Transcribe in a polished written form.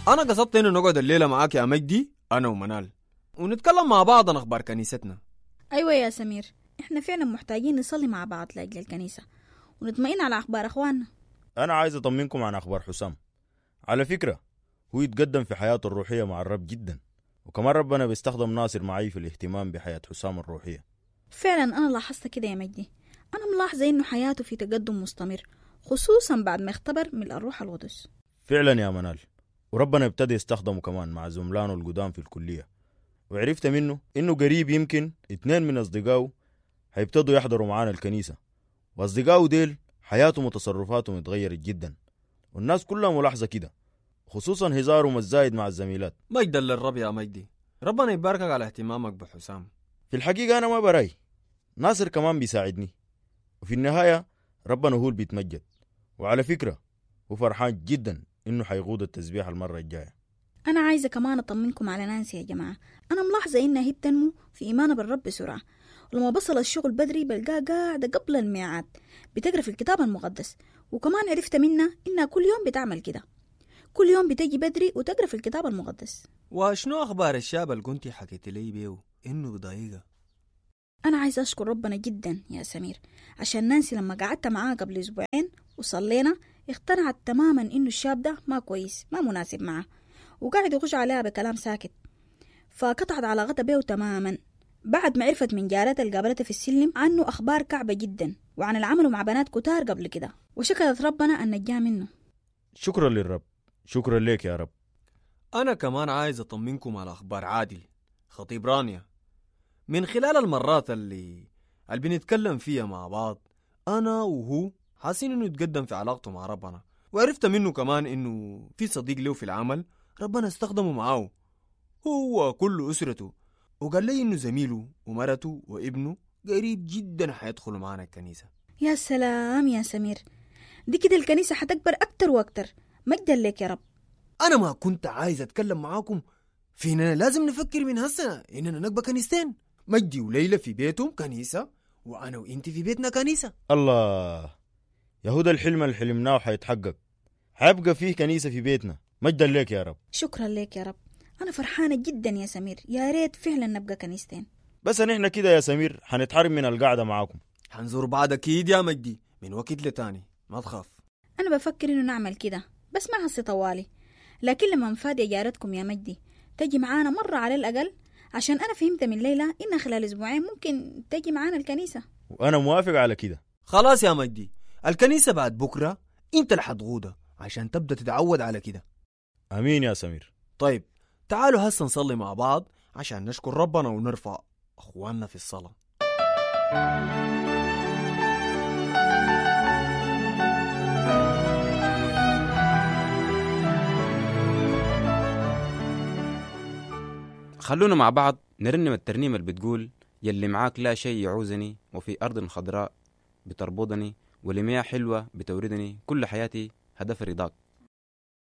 أنا قصدت إنه نقعد الليلة معاك يا مجدي، أنا ومنال، ونتكلم مع بعض عن أخبار كنيستنا. أيوة يا سمير، إحنا فعلا محتاجين نصلي مع بعض لأجل الكنيسة ونطمئن على أخبار أخواننا. أنا عايز أطمنكم عن أخبار حسام. على فكرة هو يتقدم في حياته الروحية مع الرب جدا، وكمان ربنا بيستخدم ناصر معي في الاهتمام بحياة حسام الروحية. فعلا أنا لاحظت كده يا مجدي، أنا ملاحظة إنه حياته في تقدم مستمر، خصوصا بعد ما اختبر من الروح القدس. فعلا يا منال، وربنا ابتدى يستخدمه كمان مع زملانه القدام في الكلية، وعرفت منه إنه قريب يمكن 2 من أصدقائه هيبتدوا يحضروا معانا الكنيسة، وأصدقائه ديل حياتهم وتصرفاتهم اتغيرت جدا، والناس كلها ملاحظة كده، خصوصا هزارهم الزايد مع الزميلات. مجدا للرب يا مجدي، ربنا يباركك على اهتمامك بحسام. في الحقيقة أنا ما براي، ناصر كمان بيساعدني، وفي النهاية ربنا هو اللي بيتمجد. وعلى فكرة هو فرحان جدا إنه حيقود التسبيح المرة الجاية. أنا عايزة كمان أطمنكم على نانسي يا جماعة. أنا ملاحظة إنها هي بتنمو في إيمانها بالرب بسرعة، ولما بصل الشغل بدري بلقاها قاعدة قبل الميعاد بتقرأ في الكتاب المقدس، وكمان عرفت منها إنها كل يوم بتعمل كده، كل يوم بتجي بدري وتقرأ في الكتاب المقدس. وشنو أخبار الشاب اللي كنتي حكيت لي بيه إنه بضايقها؟ أنا عايزة أشكر ربنا جدا يا سمير، عشان نانسي لما قعدت معاه قبل أسبوعين وصلينا اقتنعت تماما إنه الشاب ده ما كويس، ما مناسب معه، وقاعد يخش عليها بكلام ساكت، فقطعت علاقتها بيه تماما بعد ما عرفت من جارتها اللي قابلتها في السلم عنه أخبار كعبة جدا وعن العمل مع بنات كتار قبل كده، وشكرت ربنا أن نجاه منه. شكرا للرب، شكرا لك يا رب. أنا كمان عايز أطمنكم على أخبار عادل خطيب رانيا. من خلال المرات اللي بنتكلم فيها مع بعض أنا وهو حاسين إنه يتقدم في علاقته مع ربنا، وعرفت منه كمان إنه في صديق له في العمل ربنا استخدمه معاه هو وكل أسرته، وقال لي إنه زميله ومرته وابنه قريب جدا حيدخلوا معنا الكنيسة. يا سلام يا سمير، دي كده الكنيسة حتكبر أكتر وأكتر، مجدا لك يا رب. أنا ما كنت عايز أتكلم معاكم في إننا لازم نفكر من هالسنة إننا نكبر كنيستين، مجدي وليلى في بيتهم كنيسة، وأنا وإنت في بيتنا كنيسة. الله يهودا، الحلم اللي حلمناه حيتحقق، حيبقى فيه كنيسة في بيتنا. مجدا لك يا رب. شكرا لك يا رب، أنا فرحانة جدا يا سمير، يا ريت فعلا نبقى كنيستين. بس نحن كده يا سمير حنتحرم من القعدة معاكم. حنزور بعض أكيد يا مجدي من وقت لتاني، ما تخاف. أنا بفكر إنه نعمل كده بس ما هسي طوالي، لكن لما نفادي جارتكم يا مجدي تجي معانا مرة على الأقل، عشان أنا فهمت من ليلى إن خلال أسبوعين ممكن تجي معانا الكنيسة. وأنا موافق على كده. خلاص يا مجدي، الكنيسة بعد بكرة أنت اللي حتغودها عشان تبدأ تتعود على كده. أمين يا سمير. طيب تعالوا هسه نصلي مع بعض عشان نشكر ربنا ونرفع أخواننا في الصلاة. خلونا مع بعض نرنم الترنيمة اللي بتقول يلي معاك لا شيء يعوزني، وفي أرض خضراء بتربضني، ولمياه حلوة بتوردني، كل حياتي هدف رضاك.